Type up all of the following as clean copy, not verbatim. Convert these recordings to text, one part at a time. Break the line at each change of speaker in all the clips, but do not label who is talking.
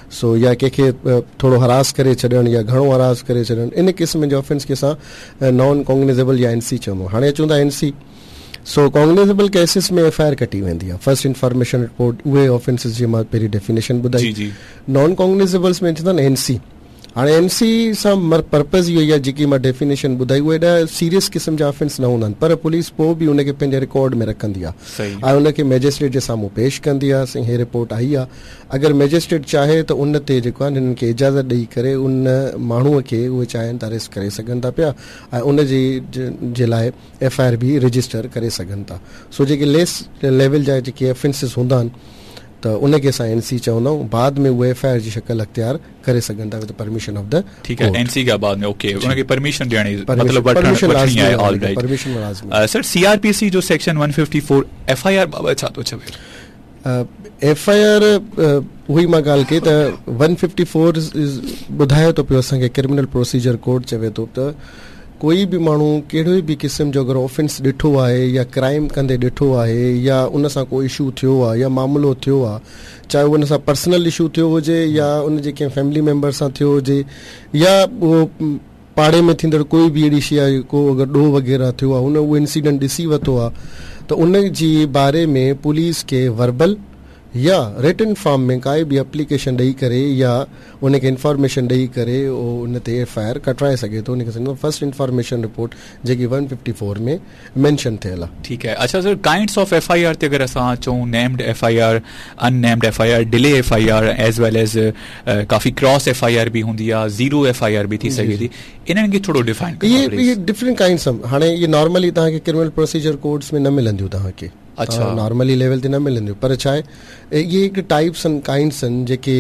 سو يا ڪنهن کي ٿورو هراس ڪري ڇڏڻ يا گهڻو هراس ڪري ڇڏڻ ان قسم جي آفينس کي اسان نان ڪاگنيزيبل يا اين سي چوندا آهيون. هاڻي اچون ٿا N C. So cognizable cases ۾ F I R ڪٽي ويندي آهي، فرسٽ انفارميشن رپورٽ، اهي آفينسز جي مان پهرين ڊيفينيشن ٻڌائي. نان ڪاگنيزيبلس ۾ چوندا آهن اين سي. هاڻي اين سي سان پرپز اهو ئي آهي جيڪي مان ڊيفينيشن ٻڌائي اهي ايڏا سيريس قسم جا آفينس نه هوندا آهن پر پوليس پوء به ان کي پنهنجي رڪارڊ ۾ رکندي آهي ۽ ان کي مئجسٽريٽ جي سامهون پيش ڪندي آهي سائين هي رپورٽ آئي آهي اگر مئجسٽريٽ چاهي ته ان تي جيڪو آهي هنن کي اجازت ڏئي ڪري ان ماڻهو کي اهي چاهين ته اريسٽ ڪري سگهن ٿا پيا ۽ ان جي جي لاء ايف I R به رجسٽر ڪري سگهن ٿا. سو جيڪي ليس ليول جا جيڪي افينسز هوندا آهن ته ان کي اسان اين سي چوندا آهيون بعد ۾ اهي ايف I R جي شڪل اختيار ڪري سگهن ٿا وٿ پرميشن آف the
ٺيڪ آهي اين سي کان بعد ۾ اوڪي ان کي پرميشن ڏيڻي مطلب وٺڻ وٺڻي آهي آل رائيٽ
پرميشن لازمي.
سر سي آر پي سي جو سيڪشن 154 ايف I R بابت ڇا ٿو چوي؟
ايف I R اها ئي مان ڳالهه ڪئي ته 154 ٻڌائي ٿو پيو اسان کي ڪرمنل پروسيجر ڪوڊ چوي ٿو ته ڪوئي به ماڻهو ڪهڙو به قسم جو اگر آفينس ڏٺو آهي يا ڪرائم ڪندي ڏٺو آهي يا ان سان ڪو اشو ٿيو آهي يا معاملو ٿيو آهي چاهي اهو ان سان پرسنل اشو ٿيو هجي يا ان جي ڪنهن فيملي ميمبر سان ٿيو هجي يا اهو پاڙي ۾ ٿيندڙ ڪوئي به اهڙي شيء آهي ڪو اگر ڏوهه وغيره ٿيو آهي هن اهو انسيڊنٽ ڏسي ورتو آهي ته ان جي باري ۾ پوليس کي وربل يا رٽن فارم ۾ ڪائي به اپليڪيشن ڏئي ڪري يا ان کي انفارميشن ڏئي ڪري اهو ان تي ايف I R ڪٽرائي سگهي ٿو ان کي سمجهو فرسٽ انفارميشن رپورٽ جيڪي ون ففٽي فور ۾ مينشن ٿيل آهي.
ٺيڪ آهي اڇا sir kinds of F I R تي اگر اسان اچون named F I R, un named F I R, delay F I R as well as coffee cross F I R به هوندي آهي زيرو ايف I R به ٿي سگهي ٿي انهن کي ٿورو ڊيفائن
ڪندا پليز. اهي ڊفرنٽ ڪائنڊس هاڻي اهي نارملي توهان کي ڪرمنل پروسيجر ڪوڊس ۾ نه ملنديون توهان کي.
اڇا.
نارملي ليول تي نه ملنديون پر ڇا آهي اهي هڪ ٽائپس آهن ڪائنڊس آهن جيڪي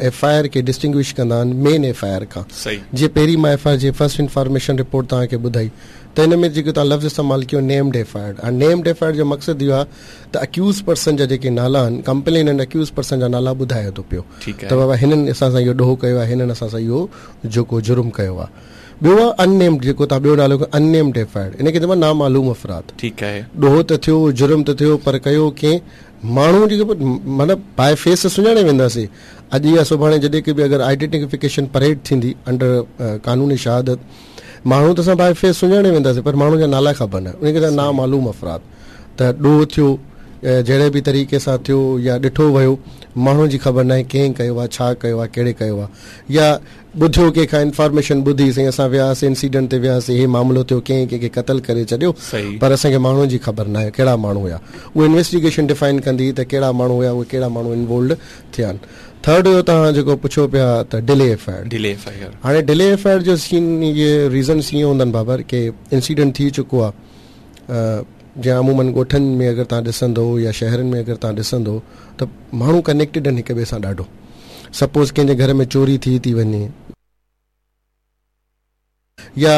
ايف I R کي ڊسٽنگوش ڪندا آهن مين ايف I R کان جيئن پهرين مان ايف I R جي فرسٽ انفارميشن رپورٽ توهان کي ٻڌائي ته ان ۾ جيڪو توهان لفظ استعمال ڪيو named F I R هاڻي نيمڊ ايف I R جو مقصد اهو آهي ته اڪيوز پرسن جا جيڪي نالا آهن ڪمپليننٽ اڪيوز پرسن جا نالا ٻڌائي ٿو پيو ته بابا هنن اسان سان اهو ڏوهه ڪيو آهي هنن اسان سان اهو جيڪو جرم ڪيو آهي. ٻيو آهي ان نيمڊ جيڪو توهان ٻيو نالو ان نيمڊ ايف I R ان کي چئبو آهي نامعلوم افراد.
ٺيڪ آهي.
ڏوهه ته ٿيو جرم ته ٿيو پر ڪيو ڪنهن ماڻهو جيڪي معنيٰ باء فيس ته سڃاڻي وينداسين اڄ يا سڀاڻي جڏهن ڪي به اگر آئيڊينٽيفڪيشن پريڊ ٿيندي انڊر قانون شهادت ماڻهو ته اسان باء فيس سڃاڻي وينداسين پر ماڻهو جا نالا خبر نه ان کي چئبو آهي نامعلوم افراد ته ڏوهه ٿيو جهڙي به طريقي سان ٿيو يا ڏٺو ويو ماڻهو جي خبر ناهي ڪنهن ڪيو آهي ڇا ڪيو آهي ڪهڙي ڪيو آهي يا ٻڌيو ڪنهن کان انفارميشن ٻڌي سائين اسان وياسين انسيڊنٽ تي وياسين هي معاملو ٿيو ڪنهن ڪنهن کي قتل ڪري ڇڏيو پر اسان کي ماڻهن جي خبر ناهي ڪهڙا ماڻهو هيا اهو انويسٽيگيشن ڊفائن ڪندي ته ڪهڙا ماڻهو هيا اهي ڪهڙا ماڻهو انوولڊ ٿيا آهن ٿرڊ هيو توهان جيڪو پڇو پيا ته delay F I R
delay F I R
هاڻي ڊلي ايف I R جو سين اهي ريزنس ائين هوندا آهن بابر ڪي انسيڊنٽ ٿي چڪو آهي جيئن عمومن ڳوٺن ۾ اگر توهان ڏسندو يا شهرن ۾ اگر توهان ڏسندو ته ماڻهو ڪنيڪٽيڊ آهن هڪ ٻئي سان ڏاڍو سپوز ڪنهن جي گهر ۾ چوري ٿي ٿي وڃي يا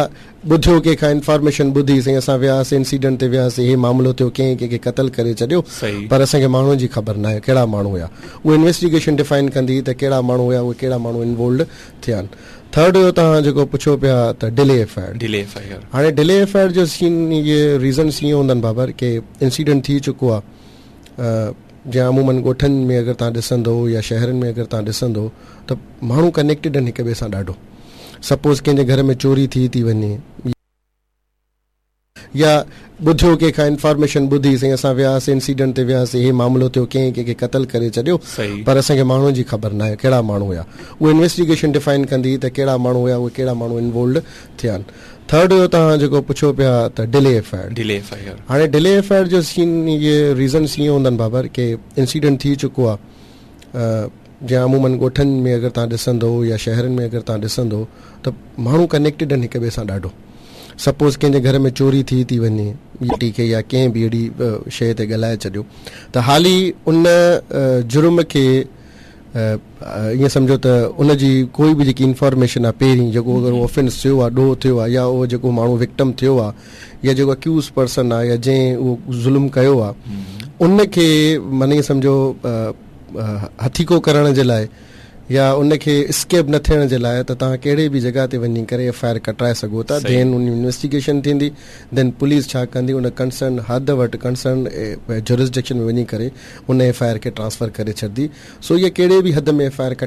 ٻڌيو ڪنهن کان انفارميشن ٻڌي سائين اسان وياسين انسيڊنٽ تي وياسين هي معاملو ٿيو ڪنهن ڪنهن کي قتل ڪري ڇڏيو پر اسان کي ماڻهن جي خبر ناهي ڪهڙا ماڻهو هيا اهو انويسٽيگيشن ڊفائن ڪندي ته ڪهڙا ماڻهو هيا اهي ڪهڙا ماڻهو انوولڊ ٿيا آهن. ٿرڊ هيو توهان جيڪو پڇو پيا ته delay F I R
delay F I R
هاڻي ڊلي ايف I R جو سين اهي ريزنس ائين هوندا آهن بابر ڪي انسيڊنٽ ٿي چڪو آهي جيئن عمومن ڳوٺن ۾ اگر توهان ڏسندو يا شهرن ۾ اگر توهان ڏسندو ته ماڻهو ڪنيڪٽيڊ آهن هڪ ٻئي سان ڏاڍو سپوز ڪنهن جي گهر ۾ چوري ٿي ٿي وڃي يا ٻڌيو ڪنهن کان انفارميشن ٻڌي سائين اسان وياسين انسيڊنٽ تي وياسين هي معاملو ٿيو ڪنهن ڪنهن کي قتل ڪري ڇڏيو پر اسان کي ماڻهن جي خبر ناهي ڪهڙا ماڻهو هيا اهو انويسٽيگيشن ڊفائن ڪندي ته ڪهڙا ماڻهو هيا اهي ڪهڙا ماڻهو انوولڊ ٿيا آهن. ٿرڊ هيو توهان جيڪو پڇو پيا ته delay F I R
delay F I R
هاڻي ڊلي ايف I R جو سين اهي ريزنس ائين هوندا آهن بابر ڪي انسيڊنٽ ٿي چڪو آهي جيئن عمومن ڳوٺن ۾ اگر توهان ڏسندو يا شهرن ۾ اگر توهان ڏسندو ته ماڻهو ڪنيڪٽيڊ آهن هڪ ٻئي سان ڏاڍو سپوز ڪنهن جي گهر ۾ چوري ٿي ٿي وڃي ٽي کي يا ڪنهن به اهڙي شيء تي ڳالهائي ڇڏيو ته حالي ان جرم کي ائين سمجهو ته ان جي ڪوئي به جيڪي انفارميشن آهي پهرين جيڪو اگر اهو آفينس ٿيو آهي ڏوهه ٿيو آهي يا اهو جيڪو ماڻهو وڪٽم ٿيو آهي يا جيڪو اڪيوز پرسن آهي يا جنهن اهو ظلم ڪيو آهي ان کي معني ائين سمجهو هٿيڪو ڪرڻ جي لاء يا ان کي اسڪيپ نه ٿيڻ جي لاء ته توهان ڪهڙي به جڳهه تي وڃي ڪري ايف I R ڪٽرائي سگهو ٿا دين ان انويسٽيگيشن ٿيندي دين پوليس ڇا ڪندي ان ڪنسرن حد وٽ ڪنسرن جورسڊڪشن ۾ وڃي ڪري ان ايف I R کي ٽرانسفر ڪري ڇڏندي سو اها ڪهڙي به حد ۾ ايف I R ڪٽ